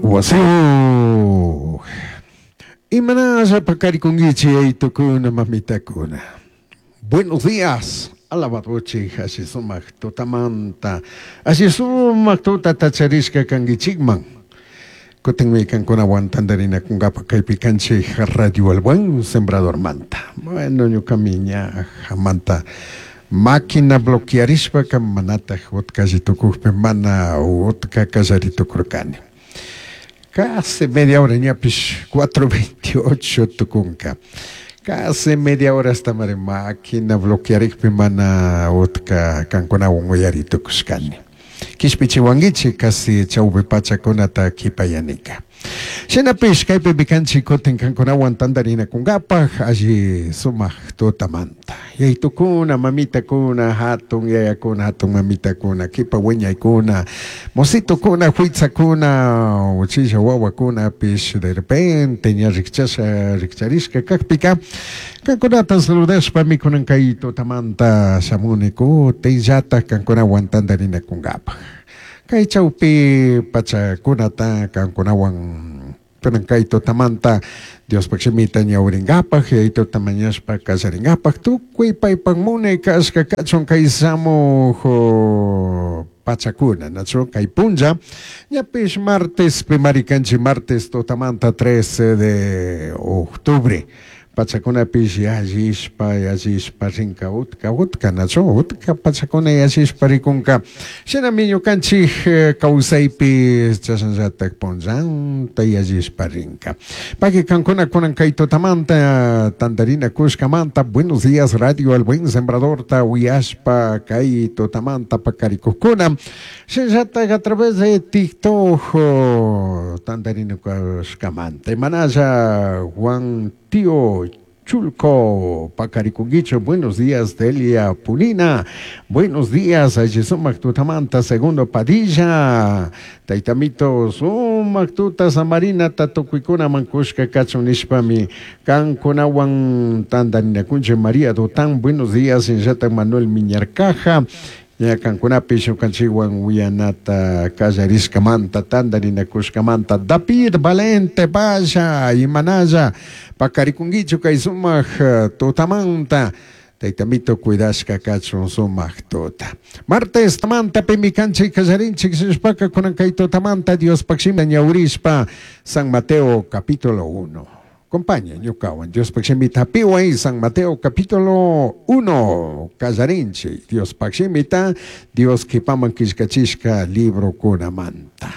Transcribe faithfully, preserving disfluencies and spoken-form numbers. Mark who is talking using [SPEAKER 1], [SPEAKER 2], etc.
[SPEAKER 1] Wasiyuq. Imanalla paqarikunkichik yaytukuna mamitakuna. Buenos días. Alabadochik alli sumaq tutamanta. Alli sumaq tutata charishka kankichikman. Kutinmi kankunawan tantarinakunkapaq kaypi kanchik Radio El Buen Sembradormanta. Bueno, ñuqami ña hamanta máquina bloquearishpaka manataq utqalli tukukpi mana utka kallari tukurkani. Casi media hora ñapish cuatro veintiocho tukunka. Casi media hora hasta mari máquina bloquearikpi mana utka kankunawan uyari tukushkani. Kishpichiwankichik casi chawpi pachakunata kipayanika. Shinapish kaypi kanchik kutin kankunawan tantarinakunkapaq alli sumaq tutamanta. Yaytukuna, mamitakuna, hatun yayakuna, hatun mamitakuna, kipa wiñaykuna, mositukuna, huitzakuna, uchilla wawakunapish de repente ña rikchasha rikcharishka kakpika kankunata saludashpami kunan kay tutamanta shamuni kutinllatak kankunawan tantarinakunkapaq. Kay chawpi pachakunata kankunawan kunan kay tutamanta Diospaq shimita ñawrinkapaq yaytuta mañashpa kallarinkapaq tukuy paypak munay kashka kachun kay shamuq pachakuna nachu kay punlla ñapish martes pimari kanchik martes tutamanta trece de octubre pachakunapish yallishpa yallishpa rinka utka utka nachu utka pachakuna yallishpa rikunka shinami ñukanchik kawsaypi chashanllatak punllanta yallishpa rinka paki kankuna kunan kay tutamanta tantarina kushkamanta. Buenos días, Radio El Buen Sembradorta uyashpa kay tutamanta pakarikukkuna shinllatak a través de TikTok tantarina kushkamanta imanalla Juan Tío Chulco, Pacarikunguicho, buenos días, Delia Pulina, buenos días, Sumac Tutamanta, Segundo Padilla, Taitamito, Sumac Tuta, Samarina, Tatucuicuna, Mancushka, Kachun nishpami, Cancunawan, Tandarinakunche, María Dotán, buenos días, Injata Manuel Miñarcaja, ña kankunapish ñukanchikwan uyanata kallarishkamanta tantarinakushkamanta David Valente Valla imanalla pakarikunkichu kay sumaq tutamanta Taytamito cuidashka kachun sumaq tuta. Martes tamanta pimi kanchik kallarinchik shishpaka kunan kay tutamanta Diospaq shimita ñawrishpa San Mateo capítulo uno. Compaña ñukawan Diospaq shimita hapiway San Mateo capítulo uno kallarinchik Diospaq shimita Dios kipaman killkachishka librokunamanta.